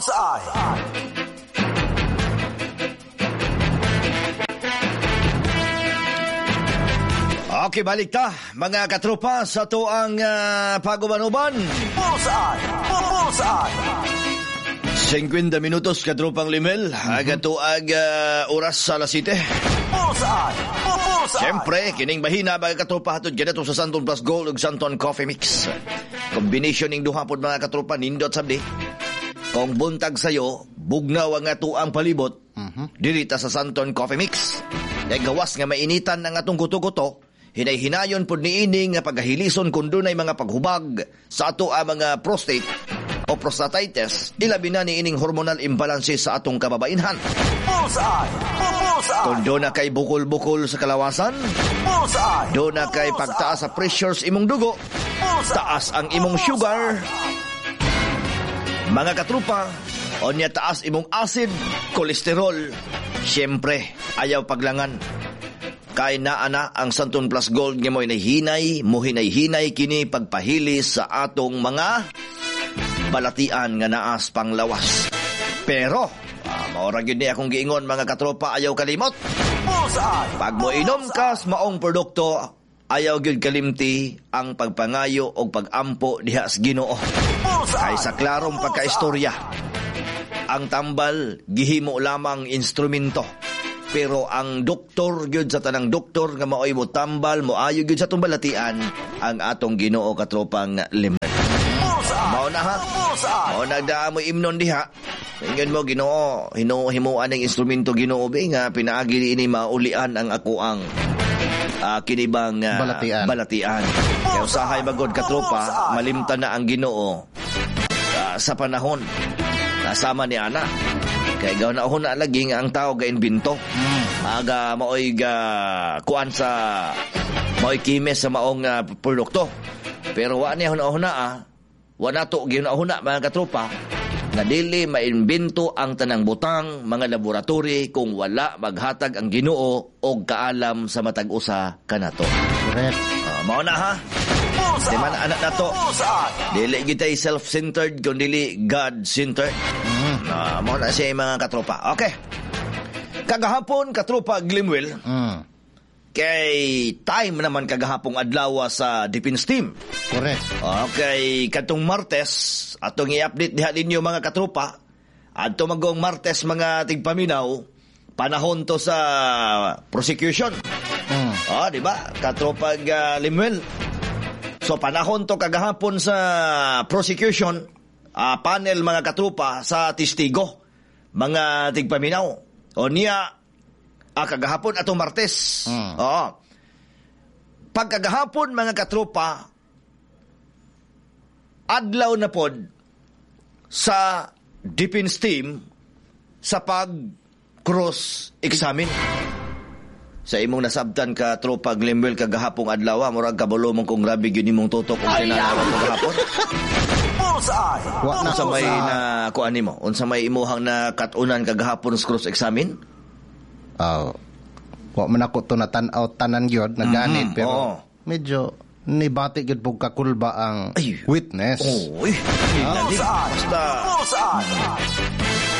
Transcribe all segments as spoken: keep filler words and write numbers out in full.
Bullseye! Okay, balik ta, mga katropa, sa to ang uh, paguban-uban. Bullseye! Bullseye! fifty minutos, katropang Limel, mm-hmm. Aga to ag uh, oras sa alas siyete. Bullseye! Bullseye! Siyempre, kining bahina, mga katropa, hatod ganito sa Santon Plus Gold ug Santon Coffee Mix. Combination ning duha pod, mga katropa, nindot sabdi. Kung buntag sayo, bugnaw ang ato ang palibot, mm-hmm. diri ta sa Santon Coffee Mix. Kay gawas nga mainitan ang atong kuto-kuto, hinay-hinayon pod niini nga pagahilison kung dunay mga paghubag sa ato ang mga prostate o prostatitis, ilabi na niining hormonal imbalances sa atong kababainhan. Bullseye! Bullseye! Kung doon na kay bukol-bukol sa kalawasan, Bullseye! doon na kay pagtaas sa pressure sa imong dugo, Bullseye! Taas ang imong sugar, mga katrupa, o niya taas imong acid, kolesterol, siyempre, ayaw paglangan. Kay naa na ang Santon Plus Gold nga mo hinay-hinay, mo hinay-hinay kini pagpahili sa atong mga balatian nga naas panglawas. Pero, ah, maura gyud ni akong giingon, mga katropa, ayaw kalimot. Bullseye! Pag mo inom ka sa maong produkto, ayaw gyud kalimti ang pagpangayo o pagampo diha sa Ginoo. Bullseye! Kay sa klarong pagkaistorya, ang tambal gihimo lamang instrumento. Pero ang doktor gyud sa tanang doktor nga maoy mo tambal, moayo gyud sa atong balatian, ang atong Ginoo, katropang Limel. Bullseye! Mao na ha. Bullseye! Mao nagdaa mo imnon diha. Ingon mo Ginoo, hinuhimuan ang instrumento Ginoo be nga pinaagi ini maulian ang ako ang uh, kinibang uh, balatian. balatian. Kaya usahay magod katropa, malimtan na ang Ginoo uh, sa panahon. Nasama ni ana. Kay gaw na na lagi nga ang tao ga imbento. Mm. Aga maoy ga kuan sa maoy kimes sa maong uh, produkto. Pero wa niya huna-huna ah. Wa nato gihuna-huna mga katropa nga dili maimbento ang tanang butang mga laboratory kung wala maghatag ang Ginoo og kaalam sa matag usa kanato. Correct. Uh, mao na ha. Bullseye! Di man anak nato. Bullseye! Dili gitay self-centered kun dili God-centered. Mm. Uh, mao na siya mga katropa. Okay. Kagahapon katropa Glimwell. Mm. Kay time naman kagahapong adlaw sa defense team. Correct. Okay, katong Martes atong i-update diha ninyo mga katropa. Adto magong Martes mga tigpaminaw, panahon to sa prosecution. Mm. Ah, di ba? Katropa uh, Limuel. So panahon to kagahapon sa prosecution, uh, panel mga katropa sa testigo, mga tigpaminaw. O niya ah, kagahapon atong Martes. Mm. Oo. Pagkagahapon mga katropa, adlaw na pod sa defense team sa pag cross-examine. Sa imong nasabtan ka tropa Glimwell kagahapong adlaw, murag kabalo mong kung grabe gyud imong tutok kung tinanawa mo kagahapon. Bullseye! Wa na Unsa may na kuan nimo? Unsa may imuhang nakatunan kagahapon sa cross-examine? Oh. Wa man ako to natan-aw tanan gyud naganit Mm-hmm. pero Oo. medyo nibati gyud pug kakulba ang Ay. witness. Oy, oh, basta. Bullseye!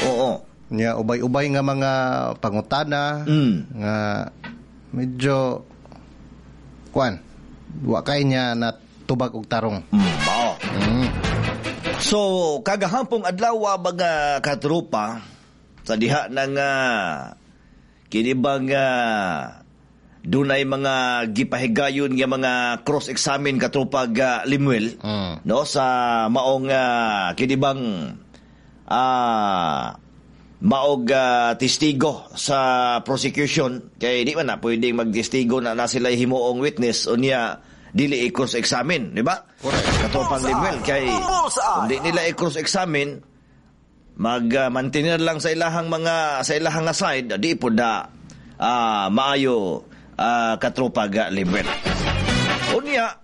Oo. Nya ubay-ubay nga mga pangutana Mm. nga medyo kuan wa kay niya na tubag og tarong. Mm, mao. Mm. So, kagahapong adlaw mga katropa sa diha ng uh, kinibang uh, dunay mga gipahigayon nga mga cross-examine katropa ga Limuel Mm. no sa maong uh, kinibang ah maog ah, testigo sa prosecution kay di man na pwedeng magtestigo na na sila himuong witness unya dili i-cross-examine, di ba? Correct. Katropang Limuel kay Bullseye! kung di nila i-cross-examine mag-maintain lang sa ilahang mga sa ilahang nga side di pud na ah, maayo ah, katropa ga Limuel. Unya,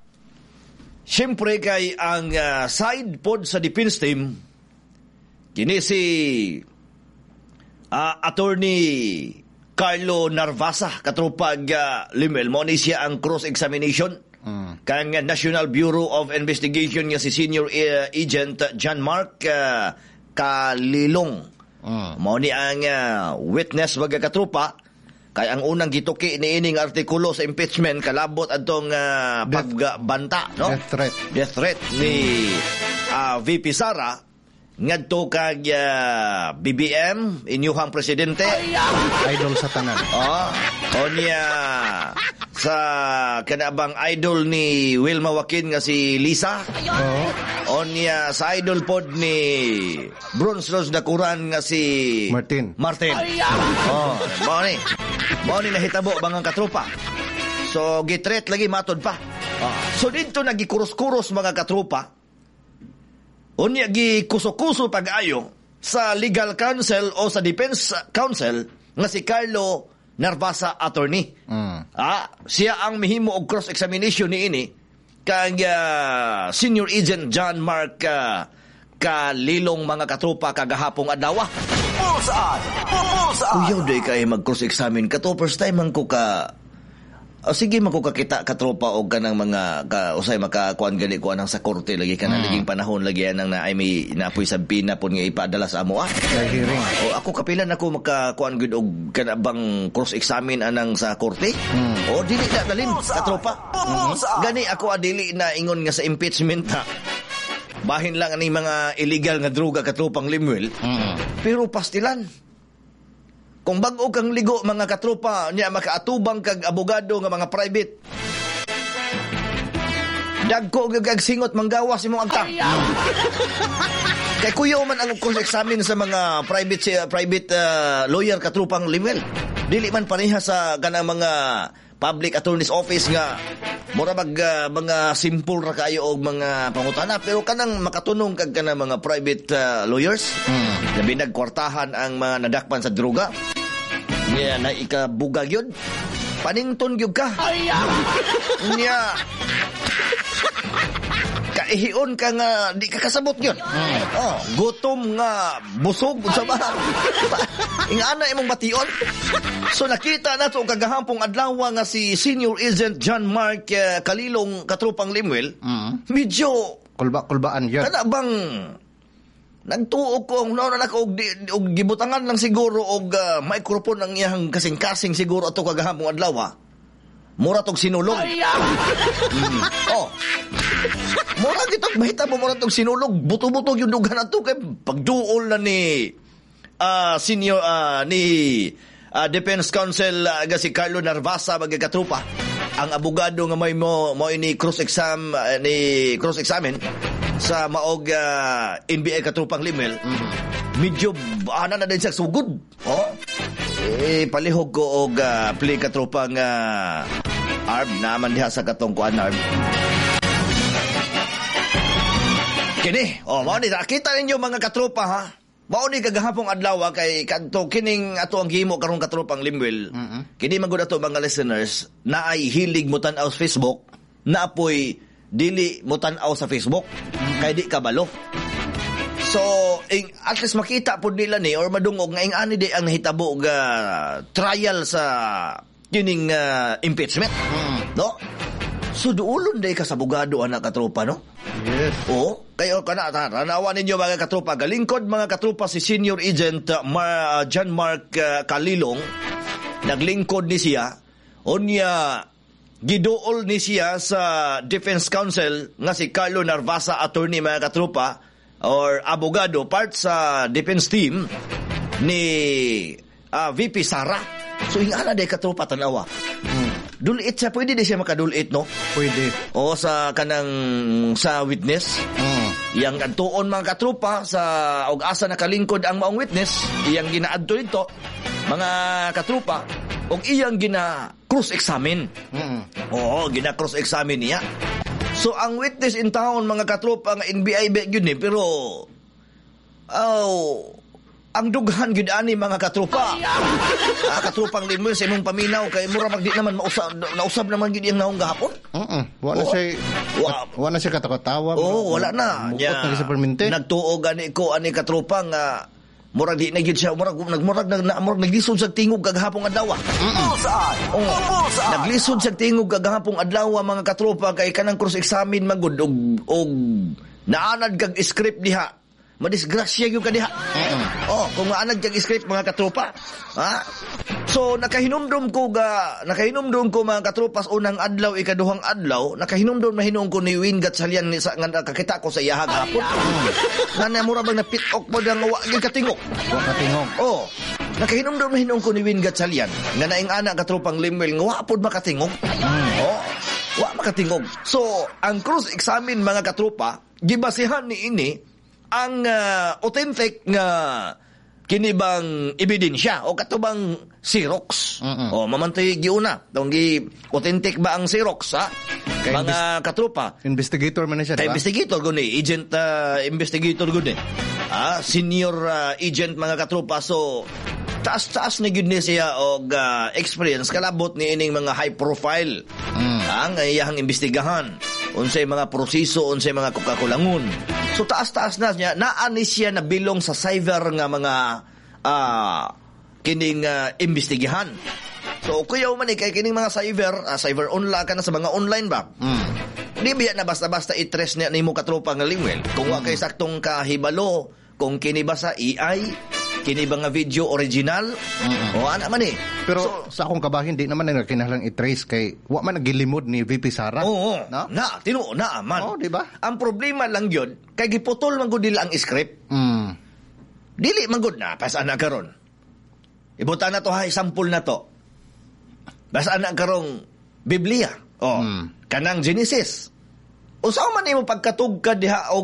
siyempre kay ang ah, side pod sa defense team kini si ah, Attorney Carlo Narvasa katropa ga Limuel mo ni siya ang cross-examination Mm. kang National Bureau of Investigation nga si Senior eh, Agent John Mark ah, Kalilong. Mm. Mao ni ang ah, witness, mga katropa, kay ang unang gituki ni ining artikulo sa impeachment kalabot adtong uh, pagbanta, no? Death threat. Death threat ni ah, V P Sara ngadto kag ah, B B M, inyuhang presidente. Idol sa tanan. Oh, o niya sa kanabang idol ni Wilma Joaquin nga si Lisa. Oo. O niya sa idol pod ni Bronze Rose Dakuran nga si Martin. Martin. Oh, mao ni. Mao ni nahitabo, mga katropa. So gitret lagi matod pa. Oh. So didto nagikuros-kuros, mga katropa. Unya gikuso-kuso pag-ayo sa legal counsel o sa defense counsel nga si Carlo Narvasa, attorney. Mm. Ah, siya ang mihimo og cross-examination niini kang ah, Senior Agent John Mark ah, Kalilong, mga katropa, kagahapong adlaw. Bullseye! Bullseye! Kuyaw day kay mag-cross-examine kato, first time man ko ka. O sige man ko kakita, katropa, og kanang mga ka, usay makakuan gali ko anang sa korte lagi kana mm. laging panahon lagi anang na ay may napoy sabina pud nga ipadala sa amo ah. Sa hearing. O ako kapilan ako makakuan gud og kanabang cross-examine anang sa korte. Mm. O dili na dalin, katropa. Bullseye! Gani ako adili na ingon nga sa impeachment ha. Bahin lang ani mga illegal nga droga, katropang Limuel. Mm. Pero pastilan. Kung bag-o kang ligo, mga katropa, niya makaatubang kag abogado nga mga private. Dagko gag singot manggawas imong agtang. Kay kuyaw man ang cross-examine sa mga private private uh, lawyer, katrupang Limuel. Dili man pareha sa kanang mga public attorney's office nga mura mag uh, mga simple ra kayo og mga pangutana, pero kanang makatunong kag kanang mga private uh, lawyers mm. labi nagkwartahan ang mga nadakpan sa droga niya na ikabugag yun, panington gyud ka niya, kaihion ka nga di ka kasabot yun. Mm. Oh, gutom nga busog unsa ba? Ingana imong bation. So nakita nato kagahampong adlaw nga si Senior Agent John Mark uh, Kalilong, katropang Limuel. Mm. Medyo Kulba-kulbaan yun. Kana bang nagtuo ko ang nauna na ko og, di- og gibutangan lang siguro og uh, microphone ang iyang kasing-kasing siguro ato kagahampong adlaw. Mura tog sinulog. Mm. Oh. Mura gitog mahita mo mura tog sinulog, buto-buto yung dugan ato kay pagduol na ni ah, senior ah, ni ah, defense counsel uh, si Carlo Narvasa, mga katropa. Ang abogado nga may mo mo ni cross exam ah, ni cross examine sa maog ah, N B I, katropang Limel. Medyo ana na din siya sugod. Oh. Eh palihog ko og ah, play, katropang uh, Arb, naman diha sa katong kuan, Arb. Kini, oh, mao ni nakita ninyo, mga katropa, ha. Mao ni kagahapong adlaw ah, kay kadto kining ato ang gihimo karong, katropang Limwell. Kini man gud ato mga listeners na ay hilig mo tan-aw sa Facebook, na apoy dili mo tan-aw sa Facebook kay di kabalo. So, ing, at least makita pod nila ni or madungog nga ing ani di ang nahitabo ga trial sa kining ah, impeachment. No? So duolon day ka sa abogado anak, katropa, no? Yes. Oo, kayo kana tanawa ninyo, mga katropa, galingkod, mga katropa, si Senior Agent uh, Mar- uh, John Mark uh, Kalilong, naglingkod ni siya unya giduol ni siya sa defense counsel nga si Carlo Narvasa, attorney, mga katropa, or abogado part sa defense team ni uh, V P Sara. So ingana day, katropa, tanawa. Dulit siya, pwede di siya makadulit, no? Pwede. O sa kanang sa witness. Mm. Yang adtuon, mga katropa, sa og asa nakalingkod ang maong witness, iyang ginaadto dito, mga katropa, og iyang gina cross examine. Mm. Oo, gina cross examine niya. So ang witness in town, mga katropa, nga N B I ba gyud ni, pero oh, ang dughan gyud ani, mga katropa. Ah, katropang Limuel, sa imong paminaw kay mura mag di naman mausab, nausab naman gyud iyang naong gahapon. Mm. Wala Oo. siya Wa- wala siya katawa-tawa. Oo, wala na. Mukot na sa permente. Nagtuo gani ko ani, katropa, nga murag di na gyud siya, murag nagmurag nag na, murag naglisod sa tingog kagahapong adlaw. Bullseye! Oo. Bullseye! Naglisod sa tingog kagahapong adlaw, mga katropa, kay kanang cross examine man gud og og naanad kag script diha. Madisgrasya gyud ka diha. Oh, kung maanad kag script, mga katropa. Ha? So nakahinumdum ko ga nakahinumdum ko, mga katropa, sa unang adlaw, ikaduhang adlaw, nakahinumdum na hinuon ko ni Win Gatchalian ni sa nga nakakita ko sa iyaha gahapon. Nga na mura bang napitok mo nga wa gyud katingog. Wa katingog. Oh, nakahinumdum na hinuon ko ni Win Gatchalian nga naing ana katropang Lemuel nga wa pod makatingog. Oh, wa makatingog. So, ang cross examine, mga katropa, gibasihan ni ini ang ah, authentic nga kini bang ebidensya o kato bang Xerox. Mm-mm. O mamantay giuna tong gi authentic ba ang Xerox, ha? Kay mga katropa. Investigator man na siya, Kay di ba? investigator gud ni, agent ah, investigator gud ni. Ah, senior ah, agent, mga katropa. So taas-taas ni gyud ni siya og ah, experience kalabot ni ining mga high profile. Mm. Ang iyahang imbestigahan, unsay mga proseso, unsay mga kakulangon. So taas-taas na niya, naa ni siya na bilong sa cyber nga mga ah, kining ah, imbestigahan. So kuyaw man eh, kay kining mga cyber, ah, cyber online ka na sa mga online ba? Mm. Di biya na basta-basta i-trace niya nimo, katropa nga Lemuel? Kung wa kay saktong kahibalo kung kini ba sa A I, kini ba nga video original, o ana man eh. Pero So, sa akong kabahin, di naman na kinahanglan i-trace kay wa man nagilimod ni V P Sara. Oo, No? na, tinuo na man. Oo, di ba? Ang problema lang yun, kay giputol man gud nila ang script. Mm. Dili man gud na, pas ana karon. Ibuta na to ha, sample na to. Basta ana karong Biblia. Oh, Mm. kanang Genesis. Unsa man nimo pagkatugkad diha og